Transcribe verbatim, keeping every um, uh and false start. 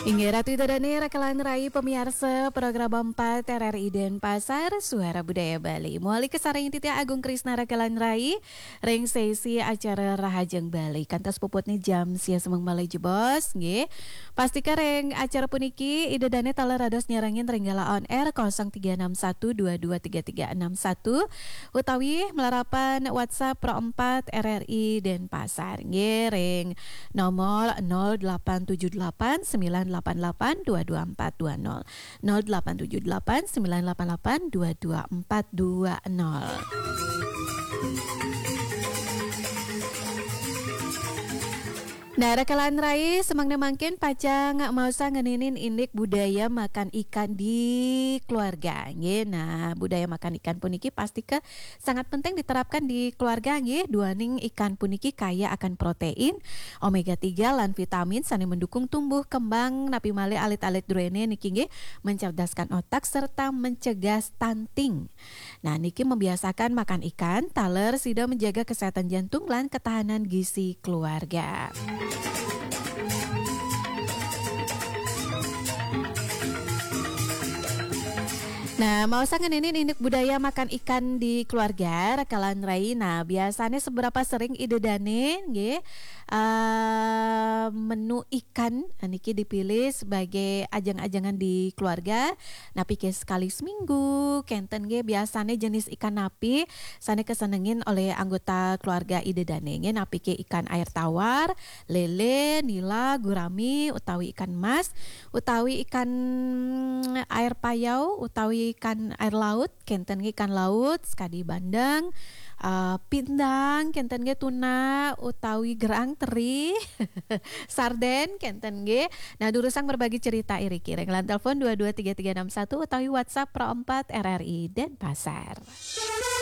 Inggih Ratu Ida Dane, Rakalan Rai, pamiarsa program empat R R I Denpasar, Suara Budaya Bali. Muali kasarengin titiang Agung Krisna, Rakalan Rai, ring sesi acara Rahajeng Bali. Kantos puputne jam sia semeng malih jebos, nggih. Pastika ring acara puniki, Ida Dane taler dados nyarengin ring gala on air kosong tiga enam satu dua dua tiga tiga enam satu, utawi malarapan WhatsApp Pro empat R R I Denpasar, nggih, ring nomor nol delapan tujuh delapan sembilan delapan delapan dua dua empat dua nol. Nol delapan tujuh delapan sembilan delapan delapan dua dua empat dua nol. Nah, Rakalan Rai, semeng mangkin pacang maosang ngeninin indik budaya makan ikan di keluarga, nggih. Nah, budaya makan ikan puniki pastika sangat penting diterapkan di keluarga, nggih. Duaning ikan puniki kaya akan protein, omega tiga, lan vitamin sane mendukung tumbuh kembang, napi malih alit-alit druene niki, nggih, mencerdaskan otak serta mencegah stunting. Nah, niki membiasakan makan ikan, taler sida menjaga kesehatan jantung lan ketahanan gizi keluarga. Nah, maosang ngeninin indik budaya makan ikan di keluarga, Rakalan Rai. Nah, biasanya seberapa sering Ida Dane, nggih, eh, menu ikan niki dipilih sebagai ajang-ajangan di keluarga? Napi ke sekali seminggu, kenten nggih, biasanya jenis ikan napi sane kesenengin oleh anggota keluarga Ida Dane, nggih? Napi ke ikan air tawar, lele, nila, gurami, utawi ikan mas, utawi ikan air payau, utawi ikan air laut, kenten nggih, ikan laut, sekadi bandeng, eh, pindang, kenten nggih, tuna, utawi gerang, teri, sarden, kenten nggih. Nah, durusang berbagi cerita iriki ring line telepon dua dua tiga tiga enam satu utawi WhatsApp Pro empat R R I Denpasar.